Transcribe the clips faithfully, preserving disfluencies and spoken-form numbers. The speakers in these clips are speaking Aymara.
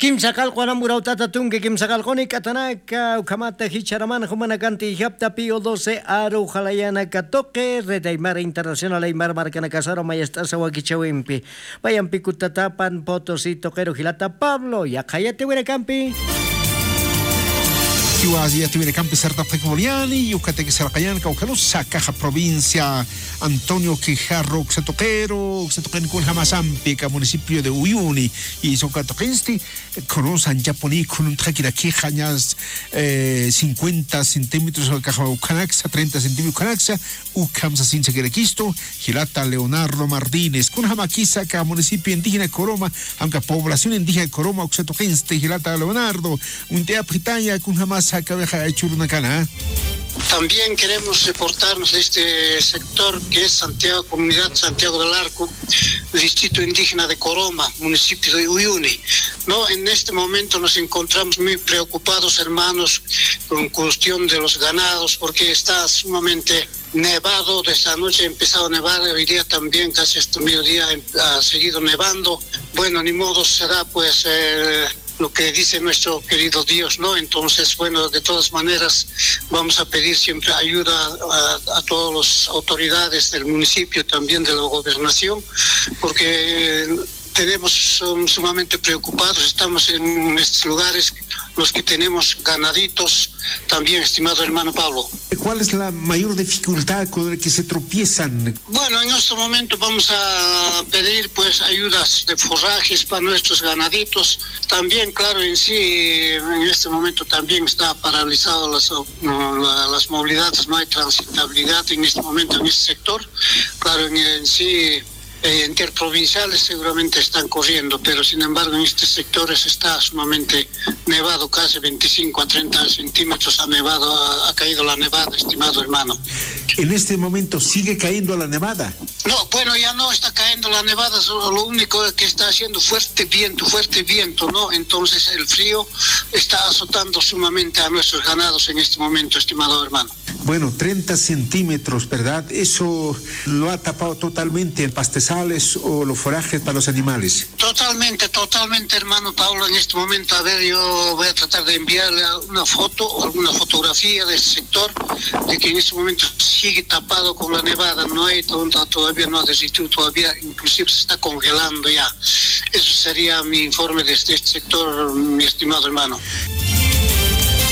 Kimsa qallqu aram urawt'ata tunka kimsa qallquni k'atanaka, ukhamata jichharaman jumanakanti ijapta Pío doce aru jalayana katuqi, Red Aymara Internacional Aymara markanakasaru mayast'asa wakichäwimpi. Payampi kutatapan Potosí tuqiru jilata Pablo, yaqha yatiwirakampi. Jiwas yatiwirakampi sartapxakipuniani, ukataki sarqañan kawkharusa kaja provincia Antonio Quijarro uksa tuqiru, uksa tuqin kunjamasampi ka municipio de Uyuni, y uka tuqinsti, kunus anchapuni, kununtxakirakixa ñas, eh, cincuenta centímetros, ukaxa ukhanaksa, treinta centímetros ukhanaksa, ukham sasin sakirakistu, jilata Leonardo Martínez. Kunjamakisa ka municipio indígena Coroma, aunque población indígena Coroma, uksa tuqinsti, jilata Leonardo, uñt'ayapxitaya, kunjamasa kawixa churunakana. También queremos reportarnos de este sector que es Santiago, comunidad Santiago del Arco, distrito indígena de Coroma, municipio de Uyuni. No, en este momento nos encontramos muy preocupados, hermanos, con cuestión de los ganados, porque está sumamente nevado, desde anoche ha empezado a nevar, hoy día también casi hasta mediodía em-, ha seguido nevando. Bueno, ni modo, será pues, eh, lo que dice nuestro querido Dios, ¿no? Entonces, bueno, de todas maneras, vamos a pedir siempre ayuda a, a todas las autoridades del municipio, también de la gobernación, porque tenemos, son sumamente preocupados, estamos en estos lugares, los que tenemos ganaditos, también, estimado hermano Pablo. ¿Cuál es la mayor dificultad con la que se tropiezan? Bueno, en este momento vamos a pedir, pues, ayudas de forrajes para nuestros ganaditos. También, claro, en sí, en este momento también está paralizado las, no, la, las movilidades, no hay transitabilidad en este momento en este sector. Claro, en, en sí, eh, interprovinciales seguramente están corriendo, pero sin embargo en estos sectores está sumamente nevado, casi veinticinco a treinta centímetros ha nevado, ha, ha caído la nevada, estimado hermano. ¿En este momento sigue cayendo la nevada? No, bueno, ya no está cayendo la nevada, solo lo único es que está haciendo fuerte viento, fuerte viento, ¿no? Entonces el frío está azotando sumamente a nuestros ganados en este momento, estimado hermano. Bueno, treinta centímetros, ¿verdad? ¿Eso lo ha tapado totalmente el pastizales o los forrajes para los animales? Totalmente, totalmente, hermano Pablo. En este momento, a ver, yo voy a tratar de enviarle una foto o alguna fotografía de ese sector, de que en este momento sigue tapado con la nevada, no hay to-, todavía no ha desistido, todavía inclusive se está congelando ya. Eso sería mi informe desde este sector, mi estimado hermano.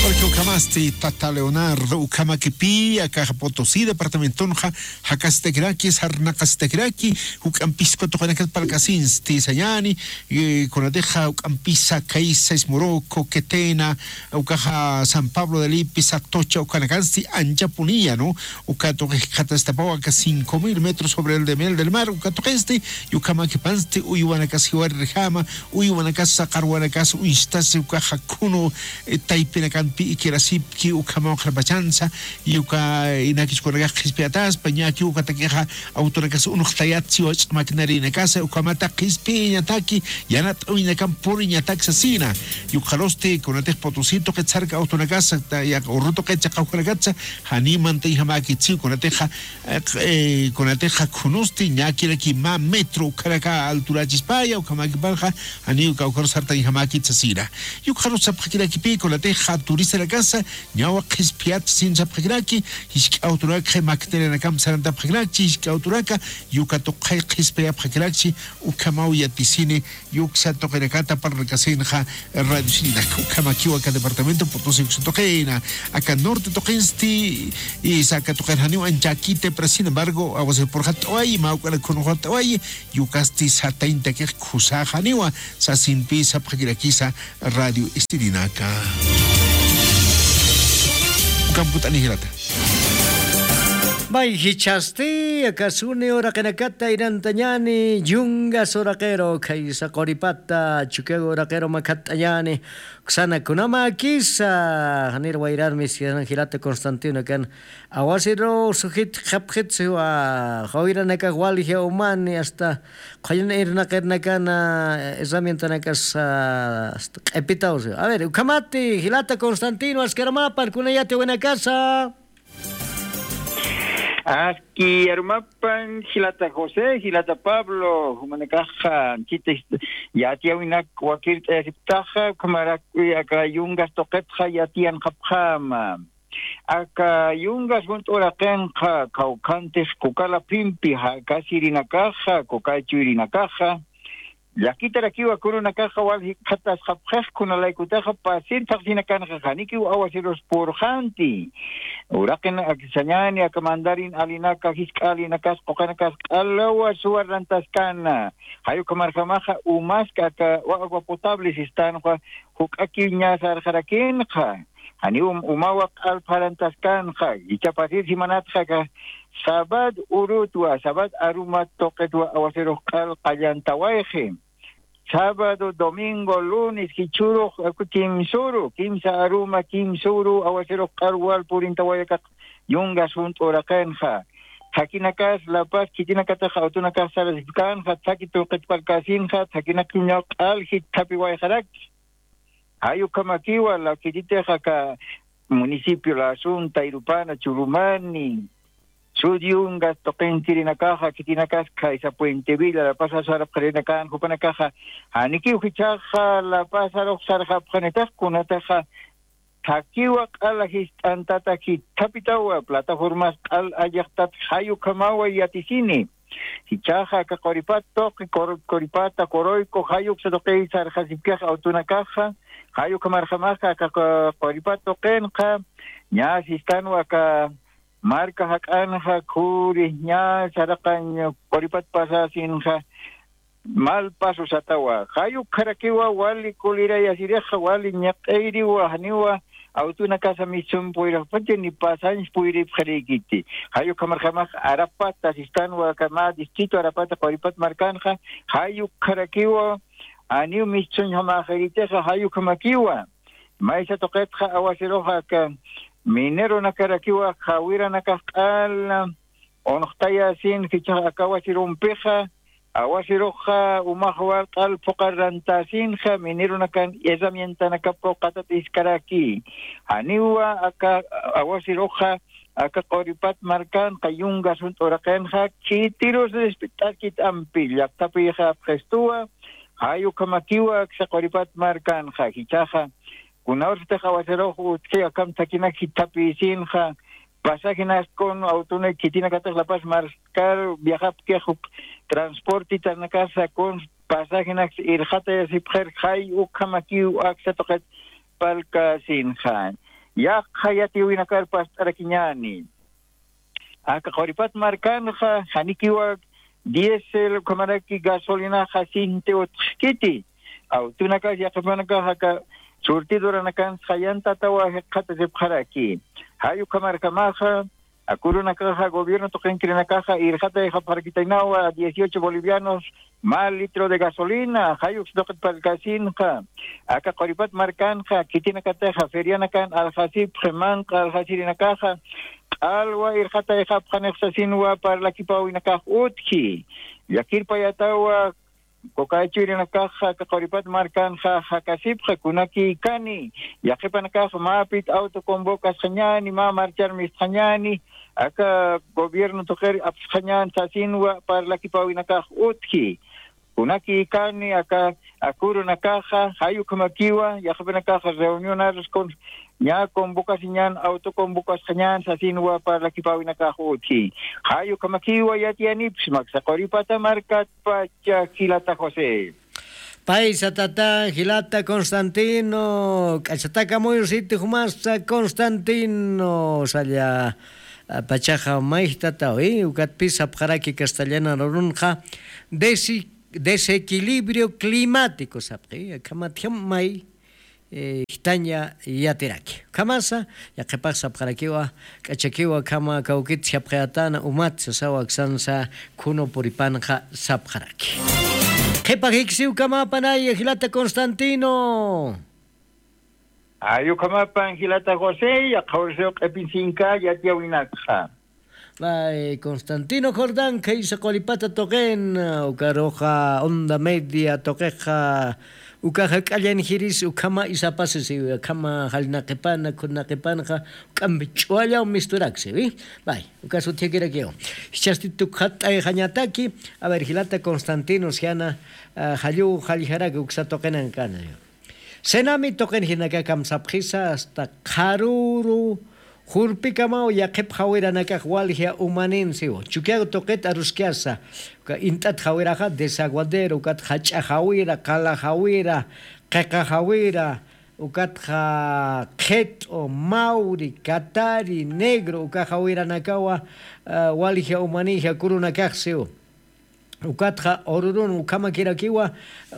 Porque ukhamasti tata Leonardo, ukhamakipï, akaxa Potosí departamentonxa, jakasitakiraki, sarnaqasitakiraki, juk'ampisku tuqinakat parlkasinsti sañäni, eh, kunatixa juk'ampisa, kaysa, Ismoroco, Quetena, ukaxa San Pablo de Lipis, Atocha, ukanakansti anchapuniya, ¿no? Uka tuqi jikxatastapawa aka cinco mil metros sobre el nivel del mar, uka tuqinsti, y ukhamakipansti, uywanakas jiwarirjama, uywanakas, saqarwanakas, uñstasi, ukaxa khunu, eh, taypinakampi ikirasipki, ukhamaw qharpachansa, y uka, eh, inakichkunakax qhispiyataspa, ñaki ukatakixa, autonakas unuxtayatsi, wach'a maquinarianakasa, ukhamata qhispiyañataki, yanat'awinakam puriñatak sasina. Yukxarusti, kunatix Potosí tuqit sarka autonakas, ta, ya, urru tuqit chaqawjanakatsa, janiw mantañjamäkitsi, kunatixa, eh, kunatixa khunusti, ñakiraki mä metro ukhanaka alturachispaya, ukhamäkipanxa, janiw kawkharus sartañjamäkit sasina. Yukxarus sapxakirakipï, kunatixa turistanakasa, ñawa qhispiyat sasin sapxakiraki, jisk'a autonak maquinarianakam sarantapxakirakchi, jisk'a autonaka, y uka tuqi qhispiyapxakirakchi, ukhamaw yatisini, y uksa tuqinakata parlkasinxa, radio sininaka, ukhamakiw aka departamento Potosí uksa tuqina, aka norte tuqinsti, y saka tuqin janiw anchäkiti, pero sin embargo, awasipurxat'awayi, mä uk'anak khunxat'awayi, y ukasti satayntakix khusaxaniwa, sasinpï sapxakirakisa, radio sininaka. Ukamput'ani jilata. May jichhasti, akasuni uraqinakata irantañäni, yungas uraqiru, khaysa quripata, chukiyaw uraqiru makhatt'añäni, uksana kunamäkisa, janir wayrarmi, sisan jilata Constantino kan, awasiru sujit qhapxit siwa, jawiranakan walji umani, hasta Qhullin irnaqirnakana, eh, herramientanakasa, ah, hasta q'ipitaw. A ver, ukhamati, jilata Constantino, askaramäpan, kuna yatiwinakasa. Aski arumapan jilata José, jilata Pablo, jumanakaxa anchita yatiyäwinak wakirt'ayasiptaxa, ukhamaraki aka yungas tuqitxa yatiyanxapxäma. Aka yungas junt'u uraqinxa, kawkhantix kuka laphimpi jakasirinakaxa, kuka chuyrinakaxa, llakitarakiwa kurunakaxa wal jikxatasxapxix, kunalaykutaxa pasir thaqsinakanxa janikiw aguaceros purxanti. Uraqin aksañäni aka mandarin alinaka, jisk'a alinakas, quqanakas q'alawa suwa rantaskana. Jay ukhamarjamaxa umask aka agua potable sistanxa, juk'akiw ñä sarxarakinxa. Janiw um-, umawa q'al pharantaskanxa, jichha pasir simanatxa aka sabad urutwa, sabad arumat tuqitwa aguacerux q'al qallantawayxi. Sábado, domingo, lunes, jichhürux, aku kimsüru, kimsa aruma, kimsüru, aguacerux q'al wal purintaway aka yungas junt'u uraqinxa. Thakinakas, La Paz, khitinakatix awtunakax sarasipkanxa, thaki tuqit parlkasinxa, thakinakañaw q'al jithapiwayxaraki. Jay ukhamakiwa, la khititix aka municipio La Asunta, Irupana, Churumani, Sud Yungas tuqinkirinakaxa, khitinakas khaysa Puente Villa, La Paz sarapxirinakan, jupanakaxa, janikiw jichhaxa La Paz arux sarxapxanitix, kunatixa, thakiwa q'al jist'antata jithapitawa, plataformas q'al allixtat, jay ukhamawa yatisini. Jichhaxa aka Quripat tuqi, Qur-, Quripata, Quruyku, jay uksa tuqiy sarxasipkix awtunakaxa, jay ukhamarjamaxa aka Qu-, Quripat tuqinxa, ñä sistanwa aka marka jak'anxa, khuri, ñä saraqañ Quripat pasasinxa, mal paso satawa. Jay ukharakiwa wali kulirayasirixa, wali ñiq'iriwa, janiwa awtunakasa misun puyraxpacha ni pasañs puyripxarïkiti. Jay ukhamarjamax Arapata sistanwa, aka mä distrito Arapata Quripat markanxa, jay ukharakiwa, janiw misunxamäxiritixa, jay ukhamakiwa. Maysa tuqitxa aguaceruxa aka mineronakarakiwa, jawiranakax q'al unxtayasin, jichhax aka aguacerumpixa, aguaceruxa umax wal q'al phuqar rantasinxa, mineronakan herramientanakap phuqatat jiskaraki. Janiwa aka aguaceruxa, aka Quripat markanxa, yungas junt'u uraqinxa, khitirus respet'askit ampi, llaqtapïxapxistuwa, jay ukhamakiwa aksa Quripat markanxa, jichhaxa, kunawrtix aguacerux utji, akham thakinak jithapïsinxa, pasajenas kun awtunak khitinakatix La Paz markar viajapkix uk transportitanakasa kun pasajenak irxatayasipxir, jay ukhamakiw aksa tuqit parlkasinxa. Yaqha yatiyäwinakar past'arakiñäni. Aka Quripat markanxa, janikiwa diésel ukhamaraki gasolinaxa sinti utjkiti. Awtunakas yaqhipanakax aka surtidoranakan sayantatawa jikxatasipxaraki. Jay ukhamarjamaxa, aka urunakaxa gobierno tuqinkirinakaxa irxatayxapxarakitaynawa dieciocho bolivianos mä litro de gasolina, jay uksa tuqit parlkasinxa. Aka Quripat markanxa, khitinakatixa ferianakan aljasipxi, manq'a aljasirinakaxa, q'alwa irxatayxapxanix sasinwa parlakipäwinakax utji. Llakirpayatawa, kuka chuyrinakaxa aka Quripat markanxa jakasipxi, kunakïkani, yaqhipanakax mäpit auto convocasxañäni, mä marchar mistxañäni, aka gobierno tuqir apsxañän sasinwa parlakipäwinakax utji. Kunakïkani aka, aka urunakaxa, jay ukhamakiwa, yaqhipanakaxa reunionarus kun, ñä convocasiñän, auto convocasxañän sasinwa parlakipäwinakax utji. Jay ukhamakiwa yatiyanipxsma aksa Quripata markatpacha jilata José. Paysa tata, jilata Constantino, k'achatakamuyusiti jumasa Constantino, salla, a, pachaxa mayjtatawi, ukatpis sapxaraki castellana rurunxa, desi-, desequilibrio climático sapxi, akhamat jam may, eh, jitaña yatiraki. Ukhamasa, yaqhipax sapxarakiwa, k'achakiwa, akhama kawkit sapxayatana, umat sasawa aksansa, khunu puripanxa sapxaraki. Qhipa jiksiw kamapanaya, jilata Constantino. Ay, ukhamapan jilata José, yaqha urasiw q'ipinsinka yatiyäwinakxa. Ay, Constantino Jordán, khaysa Quripata tuqin, ukaruxa Onda Media tuqixa, Uka jak'allan jiris ukhama isapasisiwi, akhama jallnaqipana, khunnaqipanxa, uk'ampi ch'uwallaw misturaksiwi. Bay, ukas utjakirakiw. Jichhasti tukxat'ayxañataki, a ver, jilata Constantino, siana, ah, jalluw jalljaraki uksa tuqinankana. Senami tuqin jinaka kamsapxisa, hasta qharüru, jurpikamaw yaqhip jawiranakax walja umaninsiw. Chukiaw tuqit aruskasa. Uka int'at jawiraxa, desaguadero, ukat jach'a jawira, qala jawira, qiqa jawira, ukatxa qhit'u, mawri, katari, negro, uka jawiranakawa, ah, walja umanija kurunakaxsiw. Ukatxa ururun ukhamakirakiwa,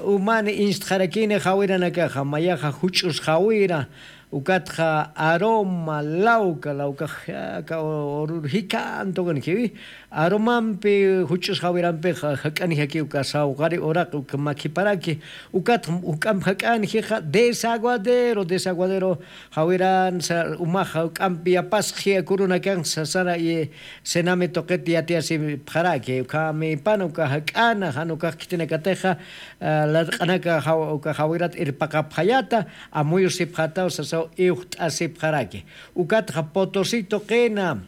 umani instxarakini jawiranakaxa, mayaxa juch'us jawira, ukatxa aroma, lawka, lawkax aka urur jikhan tuqinkiwi, aromampi juch'us jawirampixa jak'anijaki uka sawqari uraqi uka makhiparaki, ukatxa uk'amp jak'anjixa desaguadero, desaguadero, jawiran sa, umax uk'ampi yapasxi kurunakan sasara, y senami tuqit yatiyasipxaraki, ukhamipana uka jak'ana, jan ukax khitinakatixa, ah, larq'anaka jaw-, uka jawirat irpaqapxayata, amuyusipxataw sasaw iwxt'asipxaraki. Ukatxa Potosí tuqina,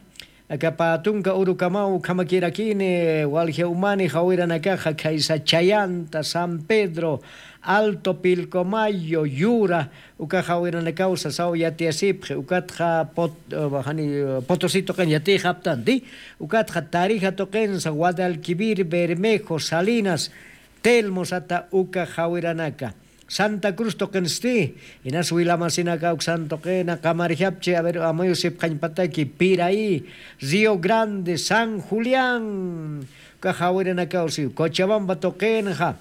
aka pä tunka urukamaw ukhamakirakini, walja umani jawiranakaxa khaysa Chayanta, San Pedro, Alto Pilcomayo, Yura, uka jawiranakaw sasaw yatiyasipxi, ukatxa Pot-, eh, jani, eh, Potosí tuqin yatiyxaptanti, ukatxa Tarija tuqinsa, Guadalquivir, Bermejo, Salinas, Telmo sata uka jawiranaka. Santa Cruz tuqinsti, inas wilamasinaka uksan tuqina, qamarjapchi, a ver, amuyusipxañpataki, Piraí, Río Grande, San Julián, uka jawiranakaw si, Cochabamba tuqinxa,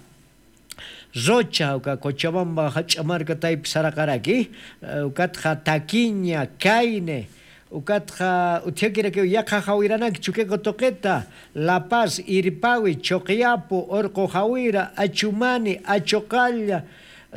Rocha, uka Cochabamba jach'a marka taypi saraqaraki, eh, ukatxa Taquiña, Caine, ukatxa utjakirakiw yaqha jawiranak Chukiyawu tuqita, La Paz, Irpawi, Chuqiyapu, Urqu jawira, Achumani, Achuqalla,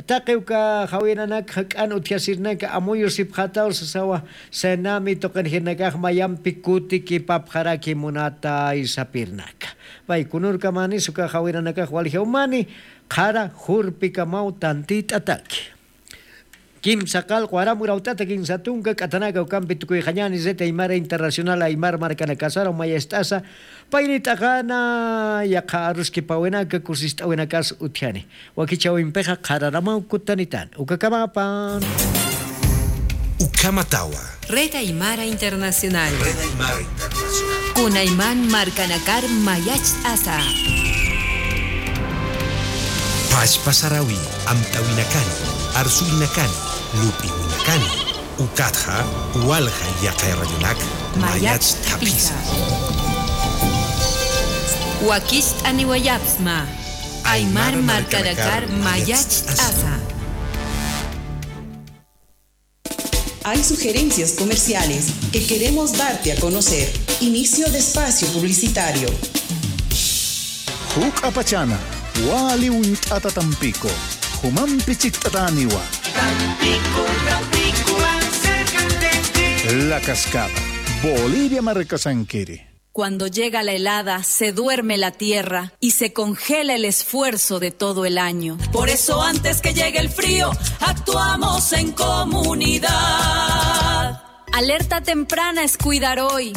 taqi uka jawiranak jak'an utjasirnaka amuyusipxataw sasawa, senami tuqinjirnakax mayampi kutikipapxaraki munatay sapirnaka. Pay kunurkamanis uka jawiranakax walja umani, qhara jurpikamaw tantit'ataki. Kimsa qallqu aram urawt'ata kinsa tunka k'atanaka ukampi tukuyxañani Red Aymara Internacional Aymar markanakasaru mayacht'asa, paynit'aqana yaqha aruskipawinaka kusist'awinakas utjani. Wakichäwimpixa qhararamaw kutanitan. Ukakamapan. Ukhamatawa. Red Aymara Internacional. Red Aymara Internacional. Kunayman markanakar mayacht'asa. Pachpa sarawi, amtawinakani, arsuwinakani, lup'iwinakani, ukatxa, walja yaqha radionak, mayacht'apisa. Wakicht'aniwayapxsma. Aymar markanakar mayacht'asa. Hay sugerencias comerciales que queremos darte a conocer. Inicio de espacio publicitario. Juk'apachana, wali uñt'ata Tampico, jumampi chikt'atäniwa. Tampico, Tampico, más cerca de ti. La Cascada, Bolivia markasankiri. Cuando llega la helada, se duerme la tierra y se congela el esfuerzo de todo el año. Por eso, antes que llegue el frío, actuamos en comunidad. Alerta temprana es cuidar hoy.